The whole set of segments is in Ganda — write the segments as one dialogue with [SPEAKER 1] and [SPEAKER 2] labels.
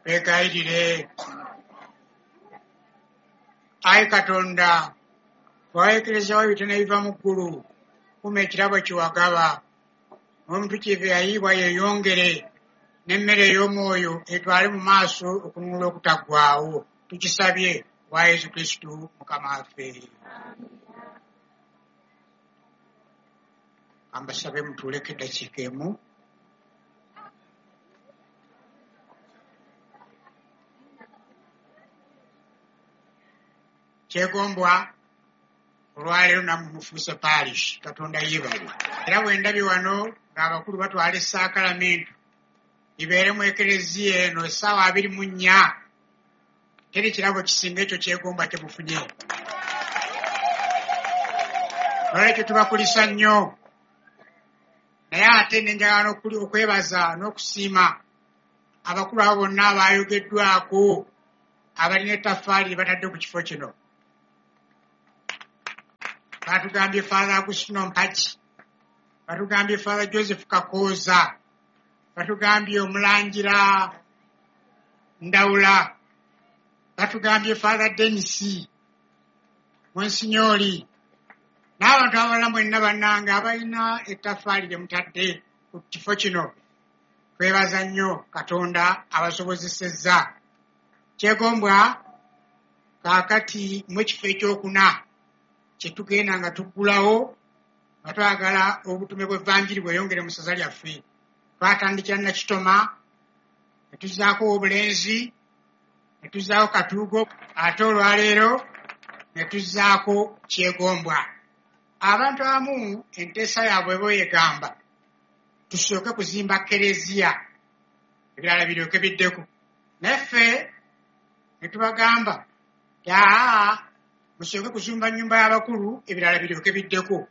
[SPEAKER 1] Twegayirire. Ayi Katonda, waweekerezawo ebitono ebiva mu ggulu, kuma ekirabo kye wagaba. N'omutuukirivu eyayiibwa yeeyongere, n'emmere ey'omwoyo etwale mu maaso okununula okutaggwaawo. Tukisabye wa Yesu Kristu Mukama waffe. Ambasabe mutuuleko eddakiika emu. Kyegombwa olwaleero nammwe mufuuse parish, Katonda yeebale. Era bwe ndabye wano ng'abakulu batwala essaakalamentu libeere mu ekereziya eno essaawa 24, teri kirabo kisinga ekyo Kyegombwa kye mufunye. Nolwekyo tubakulisa nnyo, naye ate ne njagala okwebaza n'okusiima abakulu abo bonna abaayogeddwako abalina ettaffaali lye batadde ku kifo kino. Batugambye Father Agustino Mpagi, batugambye Father Joseph Kakooza, batugambye Omulangira Ndawula, batugambye Father Denis Monsignori, n'abantu abalala mwenna bannange abalina ettaffaali lye mutadde ku kifo kino. Twebaza nnyo Katonda abasobozesezza. Kyegombwa kaakati mu kifo ekyokuna kye tugenda nga tuggulawo nga twagala obutume bw'Evanjiri bweyongere mu ssaza lyaffe. Twatandikira Nakitoma, ne tuzzaako Obulenzi, ne tuzzaako Katuugo, ate olwaleero ne tuzzaako Kyegombwa. Abantu abamu enteesa yaabwe beeyegamba tusooke kuzimba kereziya, ebirala biryoke biddeko. Naye ffe ne tubagamba aa musooke kuzimba nnyumba y'abakulu, ebirala biryoke biddeko.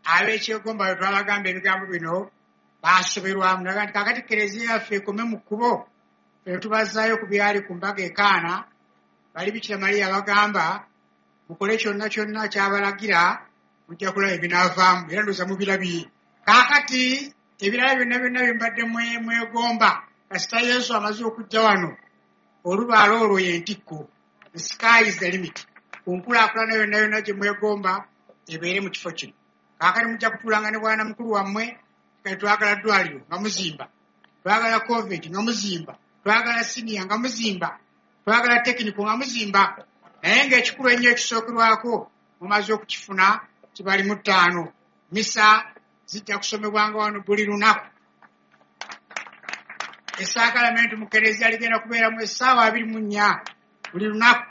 [SPEAKER 1] Ab'Ekyegomba bwe twabagamba ebigambo bino baasoberwamu, naga nti kaakati kereziya yaffe ekome mu kkubo, ffe tubazzaayo ku byali ku mbaga e Kaana. Bali Bikira Mariya bagamba mukole kyonna kyonna kyabalagira, mujja kulaba ebinaavaamu, era ndowooza mubirabye. Kaakati ebirala byonna byonna bye mbadde mwegomba, kasita Yesu amaze okujja wano, olubaala olwo ye ntikko. The sky is the limit. Ku nkulaakulana yonna yonna gye mwegomba ebeere mu kifo kino. Kaakati mujja kutuulanga ne bwana mukulu wammwe, kati twagala ddwaliro nga muzimba, twagala convent nga muzimba, twagala siniya nga muzimba, twagala tekiniko nga muzimba. Naye ng'ekikulu ennyo ekisookerwako mumaze okukifuna kibali mu 5. Misa zijja kusomebwanga wano buli lunaku. Essaakalamentu mu kereziya ligenda kubeeramu essaawa 24 buli lunaku.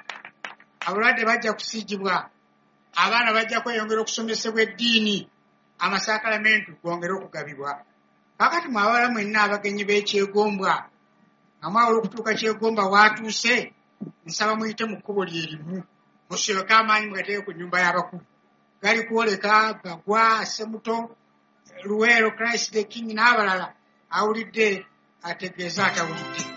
[SPEAKER 1] Abalwadde bajja kusiigibwa, abaana bajja kweyongera okusomesebwa eddiini, amasaakalamentu gongere okugabibwa. Kaakati mwe abawala mwenna abagenyi b'Ekyegombwa nga mwawula okutuuka Kyegombwa waatuuse, nsaba muyite mu kkubo lye limu, musooke amaanyi mugateeke ku nnyumba y'abakulu. Gali kwoleka Bagwa, Ssemuto, Luweero, Christ the King n'abalala. Awulidde ategeeza atawulidde.